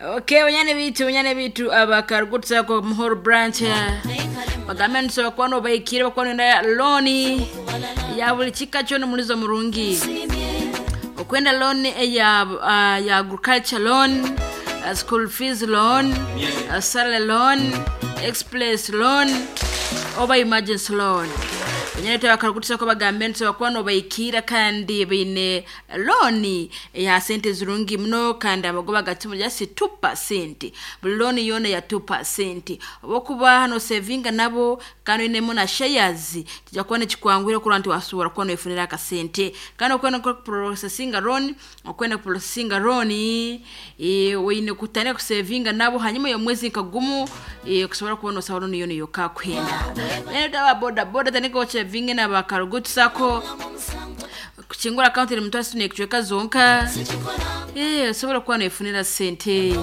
Okay, banyane bitu abakarugutsa ko Muhoro branch bagambe nsoba kwano bayikire bakwano na loni ya buli kika kyo mulizo murungi okwenda loan ya agriculture loan, school fees loan, salary loan, express loan oba emergency loan. Banyane tabakarugutsa ko bagambe nsoba kwano bayikira kandi baine loan ya sente zirungi muno kandi abagoba gatimu just 2%, buli loan yona ya 2%. Obokuba hano savinga nabo kandi inemo na shares kijja kuba nekikwangwira kurwa nti wasobora kuba noyefunira akasente. Kandi okwenda processinga loan, okwenda processinga loan, weine kutandika kusavinga nabo hanyuma y'omwezi nkagumu, kusobora kuba nosaba loan yona yokakwenda. Banyane taba boda boda tandika ochevinge na bakarugutsako kuchingura account eri mutwasi nekuchweka zonka, osobola kuba noyefunira sente,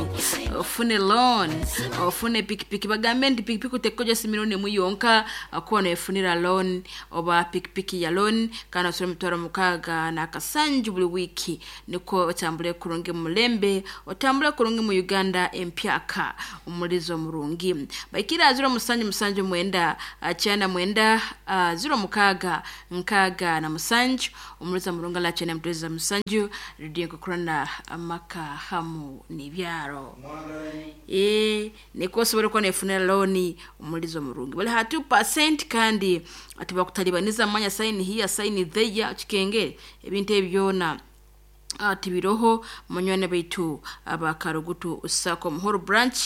ofune loan, ofune pikipiki. Bagambe nti pikipiki otekoja milioni emu yonka kuba noyefunira loan oba pikipiki ya loan, kandi osobola emitwaro 67 buli wiiki, niko otambule kurungi mu mulembe, otambule kurungi mu Uganda empyaka omulizo murungi. Baikira 0779 99 06 67 omulizo murungi la chene mtweza musanju redio kukurana amaka hamu n'ibyaro, niko osobola kuba nefunira loan omulizo murungi bali ha 2%, kandi atibakutalibaniza manya sign here sign there kikengere ebintu ebyona tibiroho. Munywane baitu abakarugutu usako Muhoro branch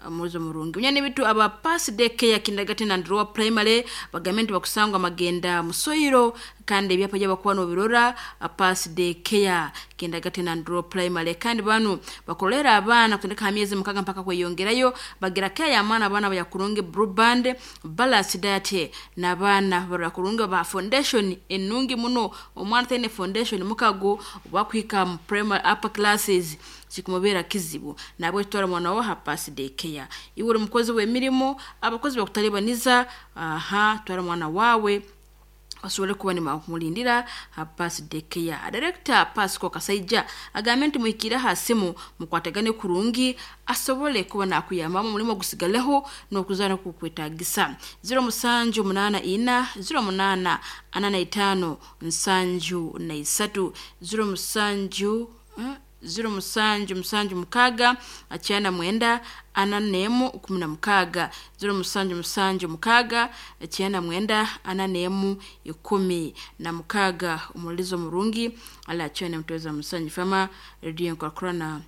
muzo murungi. Munyane bitu aba pass daycare kindergarten and lower primary bagambe nti bakusangwa magenda musoyiro kandi ebyapa by'abakuba nobirora pass daycare kindergarten and lower primary, kandi banu bakolera abaana kutandika myezi 6 mpaka kweyongerayo, bagira care ya mwana abaana bayakurungi blue band balance diet n'abaana barakurungi ba foundation enungi muno. Omwana taine foundation mukago bakwika mu primary upper classes kikumubera kizibu, nabwe twara mwana wo ha pass daycare. Iwe uri mukozi w'emirimo, abakozi bakutalibaniza, aha twara mwana wawe asobole kuba nibakumulindira ha pass daycare. Director Pasco Kasaija agambe nti muhikire aha simu mukwatagane kurungi asobole kuba nakuyambamu omulimo gusigaleho n'okuzaana kukwetagisa. 0784 08 45 73 07 0776 99 41 16 0776 99 41 16. Omulizo murungi ala chene mtweza musanju fama redio nkakurana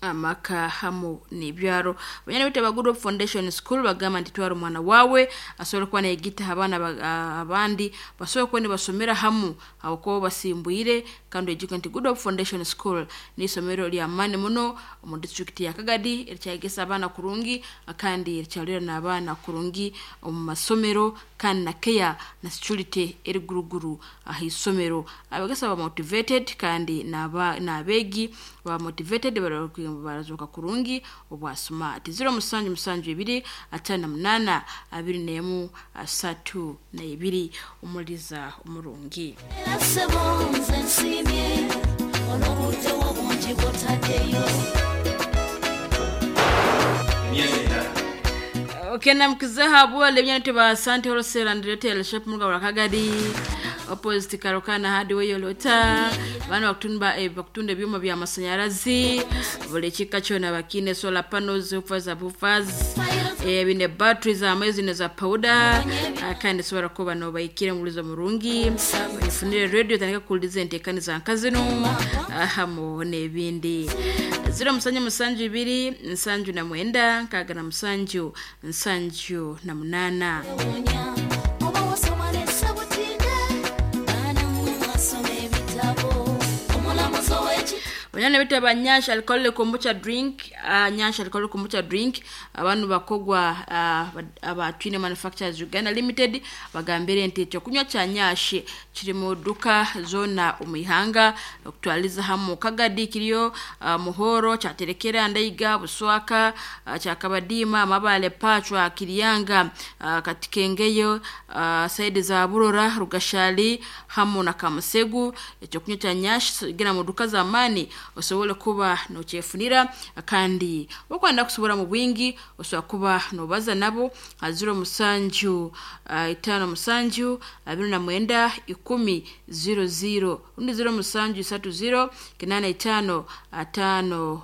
amaka hamu n'ibyaro. Banyana bita ba Good Hope Foundation School bagamba nti twara omwana wawe asobole kuba nayegita abaana abandi basobole kuba nibasomera hamu abakuba basimbwire, kandi oyijuke nti Good Hope Foundation School n'isomero ly'amaani muno omu disitulikiti ya Kagadi erikyayegesa abaana kurungi kandi erikyarorera n'abaana kurungi omu masomero, kandi na care na security eri guruguru aha isomero. Abegesa ba motivated kandi n'abeegi ba motivated barazoka kurungi obwa smart. 0772 58 21 32 omuliza omurungi. Okay, namkizaha bwale byane ba Asante Wholesale and Retail Shop muga wakagadi opposite Karokana hardware yolota bana bakutunda bakutunda ebyuma bya masanyarazi buli kika kyona bakine solar panels, buffers, bine batteries amezi ne za powder, kandi sobora kuba no bayikire mulizo murungi ifunire radio tandika kuliza entekani za nkazino hamo n'ebindi. 0772 79 67 78. Banyana bita ba Nyasha alcoholic kombucha drink, Nyasha alcoholic kombucha drink abantu bakogwa aba Twine Manufacturers Uganda Limited bagambire nti ekyokunywa kya Nyashi kiri mu duka zona omwihanga okutwaliza hamu Kagadi kiriyo, Muhoro kyaterekera Ndaiga Buswaka, kyakabadima Amabale Pachwa Kiriyanga, Katikengeyo, saidi za Burora Rugashali hamu na Kamusegu. Ekyokunywa kya Nyashi gina mu duka za mani Osobole kuba nokyefunira, kandi okwenda kusobora mu bwingi osobola kuba nobaza nabo ha 07 57 29 10 00 rundi 07 30 85 5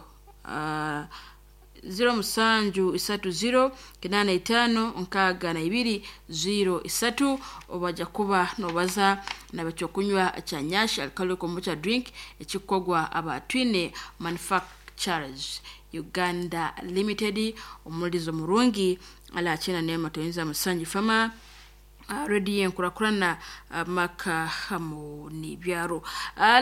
07 30 85 62 03. Obaja kuba nobaza nabekyokunywa kya Nyash Alcoholic Kombucha drink ekikogwa Abatwine Manufacturers Uganda Limited. Omulizo murungi alakina nema toyinza musanji fama rediyo enkurakurana amaka hamu n'ibyaro.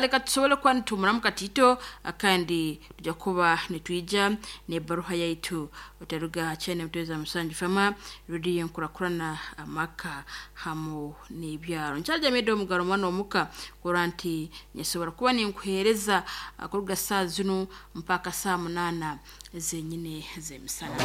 Leka tusobole kuba nitumuramu katito, kandi tujja kuba nitwija n'ebaruha yaitu. Otaruga kyene mutweza musanju fama, rediyo enkurakurana amaka hamu n'ibyaro. Nkyajamidde omugaro mwana omuka kurora nti nyasobora kuba ninkuheereza kuruga saa zinu mpaka saa 8 zenyine z'emisana.